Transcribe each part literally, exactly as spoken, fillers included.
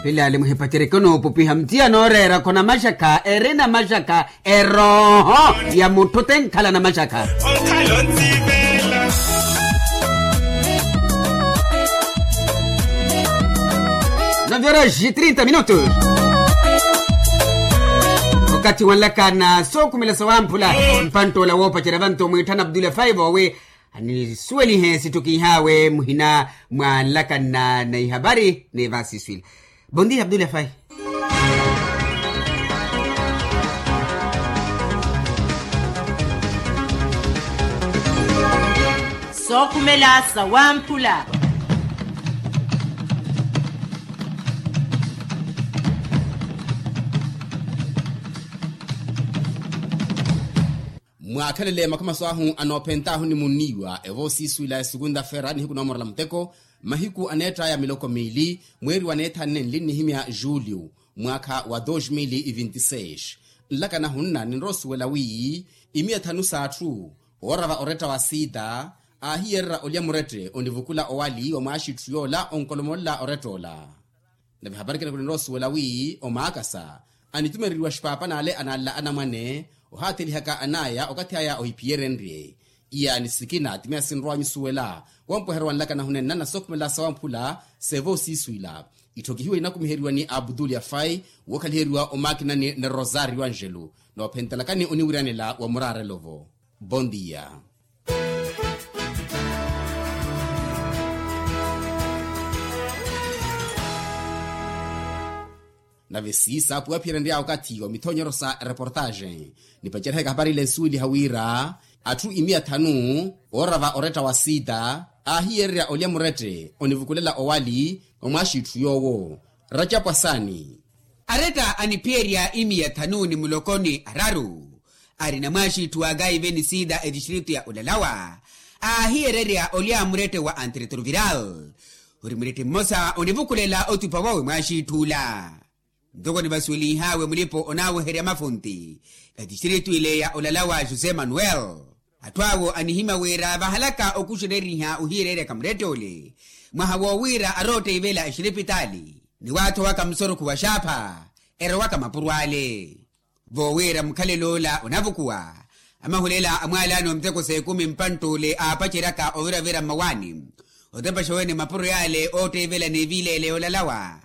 Pilaali muhipacereke onoopupiha mutiya nooreera khona maxakha erina maxakha erooho ya mutthu tenkhala na maxakha. Nove horas e trinta minutos. Okathi wanlakana sookhumela sawamphula mpanttoola woopacerya vantu mwiitthana abdula faivo wi anisuwelihe sittukiih'awe muhina mwa nlakanna na ihapari ni vaasiswila. Bondia abdula fai. Sookhumela sawamphula. Mwaakhelele makhamaso ahu anoophent'ahu ni munniiwa evoosiiswila esukunta fera nihiku noomorela muteko mahiku aneett'aya miloko miili mweeri wa neethannenli nnihimya juliyu mwaakha wa dos mil e vinti seis. Nlakana hunna ninrowa osuwela wi imiya thanu s'atthu oorava oretta wa siita aahiyererya olya murette onivukula owali wa mwaaxitthu yoola onkolomolola orett'ola. Nave hapari kene kulinrowa osuwela wi omaakasa anitumereriwa xipaapan'ale ananla anamwane ohaatthelihaka an'aya okathi aya ohiphiyerenrye. Iyaani sikina ti miya sinrowa nyusuwela wampweheryo wa nlakana hunenna na sookhumela sawamphula seevoosiiswila itthokihiwe inakumiheriwa ni abdul yafai wookhaliheriwa omaakinani ni rosario angelo noophentelakani oniwiranela wa muraarelo-vo. Bondia. Nave siisa puwaphiyerenry'awe okathi wa mithonyero sa ereportaxe nipaceriheke hapari ile nsuweliha wira atthu imiya thanu oorava oretta wa siita aahiyererya olya murette onivukulela owali omwaaxitthu yoowo racapwasani. Aretta aniphiyerya imiya thanu ni muloko ni araru arina mwaaxitthu wa kaiveni siita etistritu ya olalawa aahiyererya olya murette wa antiretroviral ori murette mmosa onivukulela otupa wawe mwaaxitthu ola. Ntoko nivasuwelinh'awe mulipo onaaweherya mafunti etistritu ile ya olalawa josé manuel. Atthu awo anihimya wira vahalaka okuxereriha ohiyereryaka murette ole mwaha woowira arootteyivela exiripitaali ni waathowaka musorokhu wa xaapha erowaka mapuro ale. Voowira mukhalelo ola onavukuwa amahulela a mwaalaani wa miteko s'ekumi mpantt'ule aapaceryaka oviravira mmawaani otepaxa wene mapuro yaale ootteivela n'eviileele yoolalawa.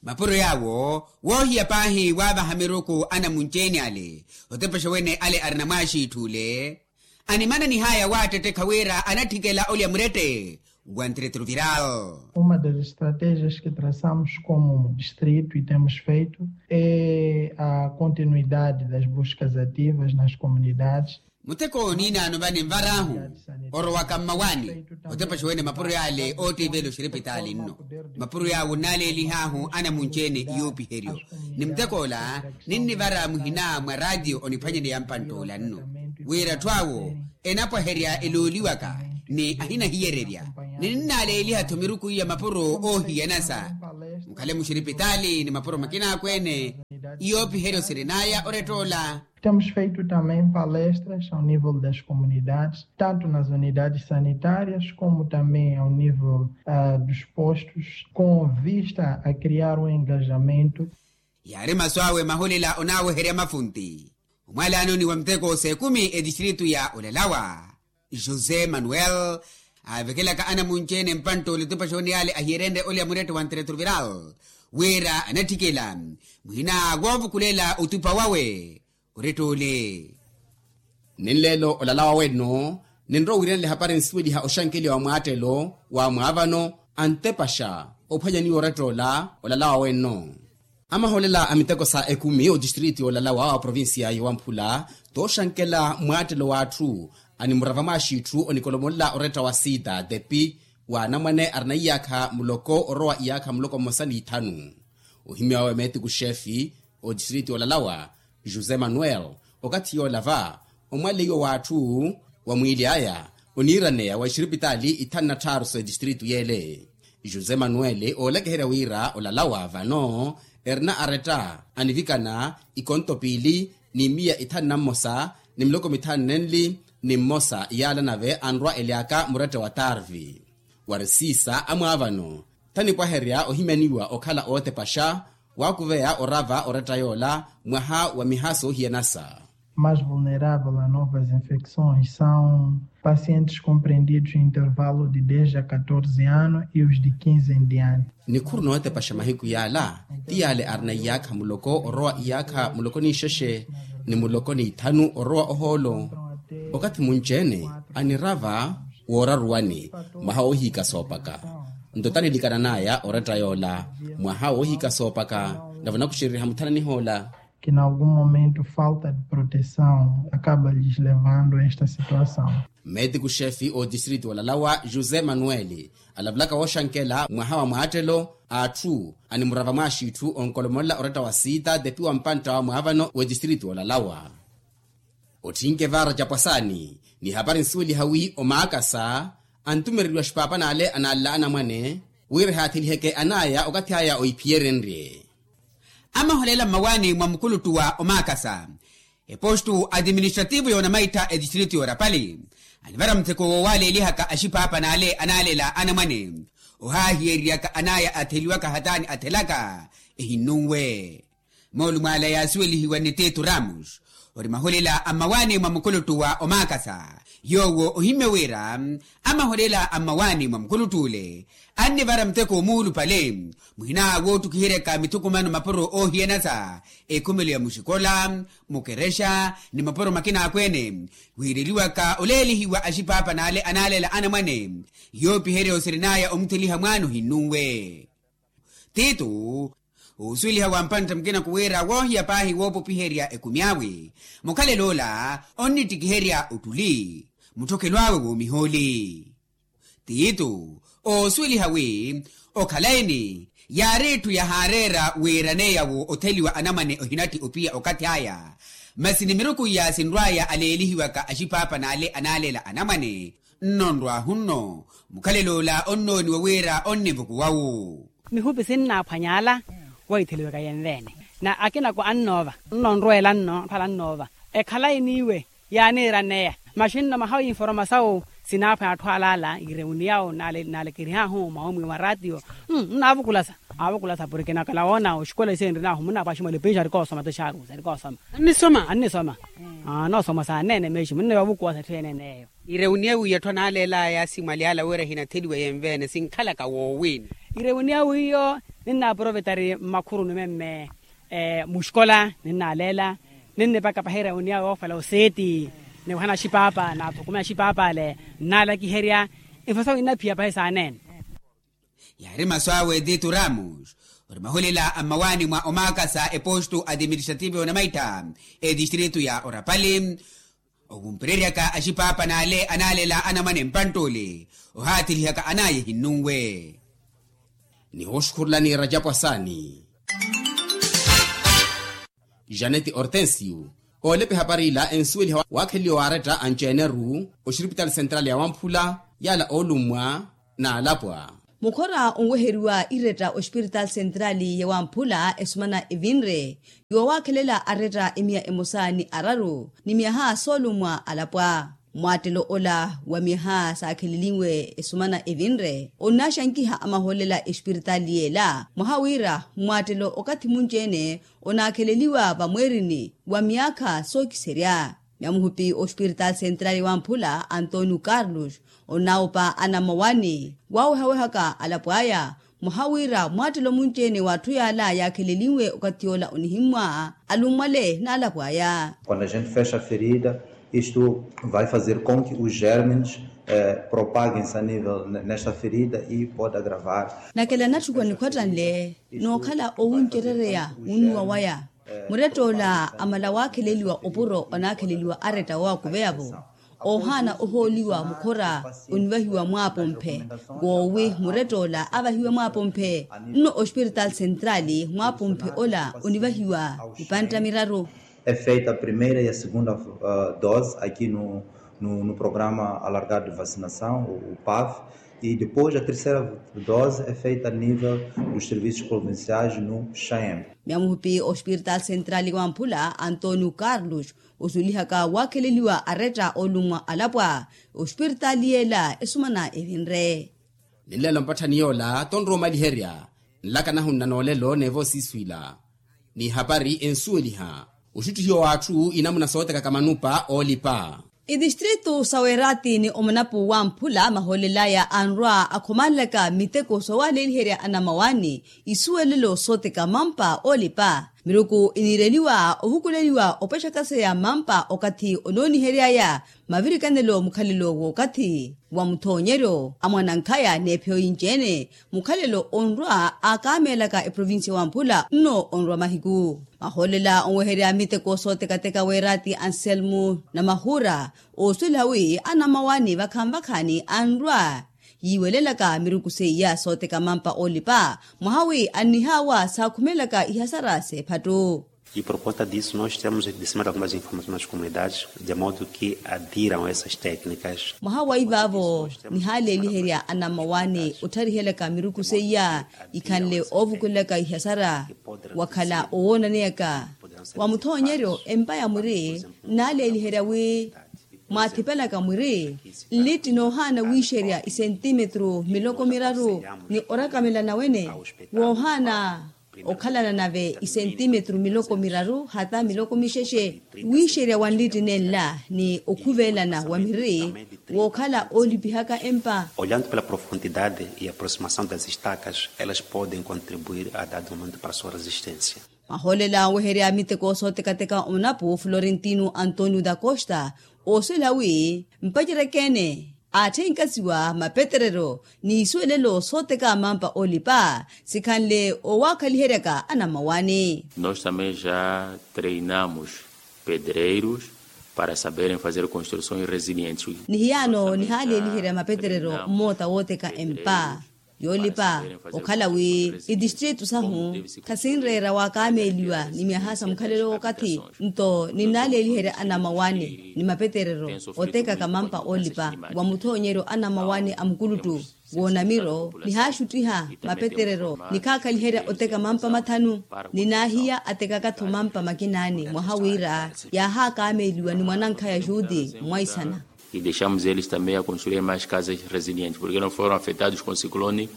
Mapuro yaawo woohiya paahi waavaha miruku anamunci-ene ale otepexa wene ale arina mwaaxiitthu ole animananih'aya waattettekha wira anatthikela olya murette wa ntiretruviral. Uma das estratégias que traçamos como distrito e temos feito é a continuidade das buscas ativas nas comunidades. Mutheko ooniinaano vani nvar'ahu orowaka mmawaani otepexa wene mapuro yaale oottiivela oxiripitaali nno. Mapuro yaawo nnaaleelih'ahu anamunci-ene iyoopiheryo ni mutheko ola ninnivara muhina mwa raatiyo oniphwanyeneya mpantt'ola nno wira atthu awo enapwaherya elooliwaka ni ahinahiyererya. Ni ninnaaleeliha-tho miruku iya mapuro oohiyanasa mukhale muxiripitaali ni mapuro makina akweene. Iyoopiheryo sirin'aya orett'ola. Temos feito também palestras ao nível das comunidades tanto nas unidades sanitárias como também ao nível dos postos com vista a criar um engajamento. Yaari masu awe mahulela onaaweherya mafunti omwalaanoni wa miteko s'ekumi etistritu ya olalawa josé manuel aavekelaka anamunci-ene mpantt'ole otupaxa wene yaale ahiyerenrye olya murette wa ntiretruviral wira anatthikela muhina woovukulela otupa wawe. Oretta ole. Ni nleelo olalawa wenno ninrowa owiiranela ehapari nsuweliha oxankeliwa wa mwaattelo wa mwaavano antepaxa ophwanyaniwa oretta ola olalawa wenno. Amaholela a miteko sa ekumi otistritu yoolalawa wa provincia yowamphula tooxankela mwaattelo w'atthu animurava mwaaxiitthu onikolomolela oretta wa sida tepi wa anamwane arina iyaakha muloko orowa iyaakha muloko mmosa n'ithanu. Ohimya wawe meetiku xeefi otistritu yoolalawa josé manuel okathi yoola va omwaleiwa w'atthu wa mwiili aya oniiraneya wa exiripitaali ithanu na tthaaru s'etistritu yeele. José manuel oolakiherya wira olalawa vano erina aretta anivikana ikonto piili ni miya ithanu na mmosa ni miloko mithanu nenli ni mmosa yaala nave anrwa elyaka muretta wa tarvi. Wari siisa amwaavano Thanipwaherya ohimyaniwa okhala ootepaxa waakuveya orava oretta yoola mwaha wa miha soohiyanasa. Mais vulnerável a novas infecções são pacientes compreendidos em intervalo de dez a catorze anos e os de quinze em diante. Nikhuru nootepaxa mahiku yaala ti yaale arina iyaakha muloko orowa iyaakha muloko n'ixexe ni muloko n'ithanu orowa ohoolo. Okathi munci-ene anirava wooraruwani mwaha woohiika soopaka. Nto tanilikana n'aya oretta yoola mwaha woohiika soopaka navo nakuxereriha muthananih'ola. Que n'algum momento falta de proteção acaba lhes levando a esta situação. Meetiku xefi otistritu olalawa josé manuel alavulaka wooxankela mwaha wa mwaattelo a atthu animurava mwaaxitthu onkolomolela oretta wa siita tepi wa mpantta wa mwaavano w'etistritu olalawa. Otthinke vaara capwasaani ni hapari nsuweliha wi omaakasa antumereriwa axipaapan'ale anaalela anamwane wira ehaathiliheke an'aya okathi aya oiphiyerenrye. Amaholela mmawaani mwa mukuluttu wa omaakasa epostu atiministrativu yoonamaittha etistritu yoorapali anivara mutheko woowaaleelihaka axipaapan'ale anaalela anamwane ohaahiyereryaka an'aya atheliwaka hataani athelaka ehinnunwe. Moolumo ala yaasuwelihiwa ni titu ramos ori maholela a mmawaani mwa mukuluttu wa omaakasa yoowo ohimmye wira amaholela a mmawaani mwa mukuluttu ole annivara mutheko omuulupale muhina woottukiheryaka mithukumano mapuro oohiyanasa ekhumelo ya muxikola mukerexa ni mapuro makina akweene wiireliwaka oleelihiwa axipaapan'ale anaalela anamwane yoopiherya osirin'aya omutheliha mwaana ohinnunwe. Titu oosuweliha wa mpantta mukina kuwira woohiya paahi woopopiherya ekumi awe mukhalelo ola onnittikiherya ottuli mutthokelo awe woomihooli. Titu oosuweliha wi okhalayi-ni yaari etthu yahaareera wiiraneya wo otheliwa anamwane ohinatti opiya okathi aya masi ni miruku iya sinrw'aya aleelihiwaka axipaapan'ale anaalela anamwane nno nrw'ahu nno mukhalelo ola onnooniwa wira onnivukuwa-wu. Mihupi sinnaaphwany'ala woitheliwaka yenveene na akinako annoova nno nrweela nno aphwala annoova ekhalayi n'iwe yaaniiraneya maxi nno mahawi informasawu sinaaphwanya atthu alaala ireuniyawu naalekerihahu mwaumwi mwa ratio. Nnaavukulasa aavukulasa porke nakala woona oxikola isenrinahu munnaapaxi mwalipiixi arikoosoma ti xaarusa arikoosoma annisoma annisoma anoosoma saaneene meexi munneewa ovukuwasa etthu yeeneene eyo. Ireuniya wiiya atthu anaaleelaya simwali ala wira ehinatheliwa yenveene sinkhalaka woowiini. Ireuniya wiiyo ninnaaprovetari mmakhuruni memme muxikola ninnaaleela ninnipaka pahi ireuniya woofela oseeti niwahana axipaapa naathukume axipaapa ale nnaalakiherya. Infasa winnaphiya pahi saaneene. Yaari masu awe titu ramos ori mahulela a mmawaani mwa omaakasa epostu atiministrativo yoonamaittha etistritu ya orapali okumpereryaka axipaapan'ale anaalela anamwane mpantt'ole ohaathelihaka an'aya ehinnunwe. Ni wooxukhurulani rajapu asaani janeti hortensio oolepe hapari ila ensuweliha waakheleliwa waaretta anci-ene-ru oxiripitali sentrali ya wamphula yaala oolummwa n'alapwa. Mukhora onweheriwa iretta oxipiritaali sentrali ya wamphula esumana evinre yoowaakhelela aretta emiya emosa ni araru ni myaha soolummwa alapwa. Mwaattelo ola wa myaha saakheleliwe esumana evinre onnaxankiha amahoolela exipiritaali yeela mwaha wira mwaattelo okathi munci-ene onaakheleliwa vamweerini wa myaakha sookiserya. Myamuhupi oxipiritaali sentrali wamphula antonio carlos onnawupa anammawaani waawehawehaka alapo aya mwaha wira mwaattelo munci-ene w'atthu yaala yaakheleliwe okathi yoola onihimmwa alummwale n'alapo aya. Quando a gente fecha a ferida isto vai fazer com que os germens propaguem-se a nível nesta ferida e pode agravar. Nakela nattukuwa nikhwattanle nookhala owuncerereya wunnuwa waya muretta ola amala waakheleliwa opuro onaakheleliwa aretta woowakuveya-vo oohaana ohooliwa mukhora onivahiwa mwaapomphe. Woowi muretta ola avahiwe mwaapomphe nno ospiritaali sentrali mwaapomphe ola onivahiwa mipantta miraru. É feita a primeira e a segunda dose aqui no programa alargado de vacinação o pav e depois a terceira dose é feita a nível dos serviços provinciais no chaem. Myamuhupi ospiritaali sentrali wamphula antonio carlos osulihaka waakheleliwa aretta olummwa alapwa ospiritaali yeela esumana evinre. Ni nlelo mpatthani yoola tonrowa omaliherya nlaka nahu nnanoolelo n'evo siiswila. N'ihapari ensuweliha oxuttihiwa w'atthu inamuna sootekaka manupa oolipa. Itistritu sa weeraati ni omunapu wamphula mahoolelaya anrwa akhomanlaka miteko soowaleeliherya anamawaani isuwelelo sooteka mampa oolipa. Miruku iniireliwa ohukuleliwa opexakaseya mampa okathi onooniheryaya mavirikanelo mukhalelo w'okathi wa muthoonyeryo a mwanankhaya n'ephiyo inci-ene. Mukhalelo onrwa aakaameelaka eprovincia wamphula nno onrwa mahiku. Mahoolela onweherya miteko sootekateka weeraati anselmu na mahuura oosweliha wi anamawaani vakhanvakhani anrwa yiiwelelaka miruku seiya sooteka mampa oolipa mwaha wi annihaawa saakhumelaka ihasara s'ephattu. E por conta disso nós temos disseminado algumas informações nas comunidades de modo que adiram essas técnicas. Mwaha wa ivaavo nihaaleeliherya anamawaani ottharihelaka miruku seiya ikhanle oovukulelaka ihasara wakhala owoonaneyaka wa muthoonyeryo empa ya mwiri nnaaleeliherya wi mwaathipelaka mwiri nlitti noohaana wiixerya isentimetru miloko miraru ni orakamela nawene woohaana okhalana nave isentimetru miloko miraru hata miloko mixexe wiixerya wa nlitti nenla ni okhuvelana wa miri wookhala oolipihaka empa. Olhando pela profundidade e aproximação das estacas elas podem contribuir a dado momento para sua resistência. Mahoolela onweherya miteko sootekateka omunapu florentino antonio da costa ooswela wi mpacereke-ene aatthenkaziwa mapeterero n'isuwelelo sooteka mampa oolipa sikhanle owaakhaliheryaka anamawaani. Nós também já treinamos pedreiros para saberem fazer construções resilientes. Nihiyaano nihaaleeliherya mapeterero mmoota wooteka empa yoolipa okhala wi itistritu sahu khasinreera waakaameeliwa ni myaha sa mukhalelo w'okathi nto ninnaaleeliherya anamawaani ni mapeterero otekaka mampa oolipa wa muthoonyeryo anamawaani a mukuluttu woonamiro nihaaxuttiha mapeterero nikhaakhaliherya oteka mampa mathanu ninaahiya atekaka-tho mampa makinaani mwaha wira yaahaakaameeliwa ni mwanankhaya juti mwaisana. E deixamos eles também a construir mais casas resilientes porque não foram afetados com o ciclone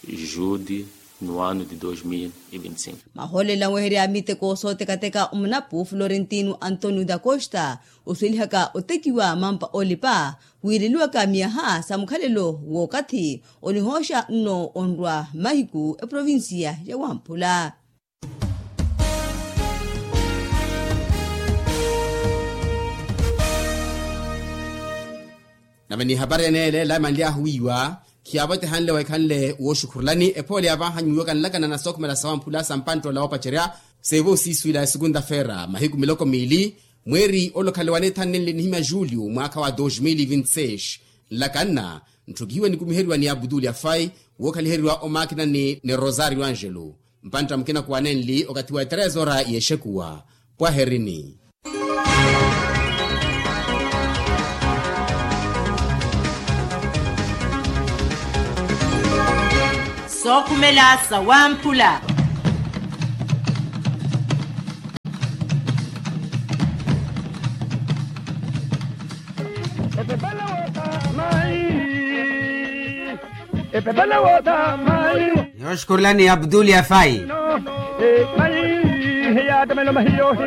jude no ano de dois mil e vinte e cinco. Mahoolela onweherya miteko sootekateka omunapu florentino antonio da costa oswelihaka otekiwa mampa oolipa wiireliwaka myaha sa mukhalelo w'okathi onihooxa nno onrwa mahiku eprovincia ya wamphula. Nave n'ihapari ene ela emanly'ahu wiiwa khiyaavotehanle waikhanle wooxukhurulani ephoole ya vaahanyu wiiwa kanlakana na sookhumela sa wamphula sa mpanttoola woopacerya. Seevo siiswila ya segunda-feira mahiku miloko miili mweeri ole okhale waneethanenle enihimya julio mwaakha wa dos mil e vinte e seis nlakanna ntthukihiwe nikumiheryiwa ni abutuli afai wookhaliheryiwa omaakinani ni rosario angelo. Mpantta mukina kuwanenli okathi wa etrezora y'exekuwa. Pwaherini. Sookhumela sa wamphula. Epepela wota mai. Epepela wota mai. Yooxukurulani abdul yafai. Mai. Hiyatamelo mahiyo.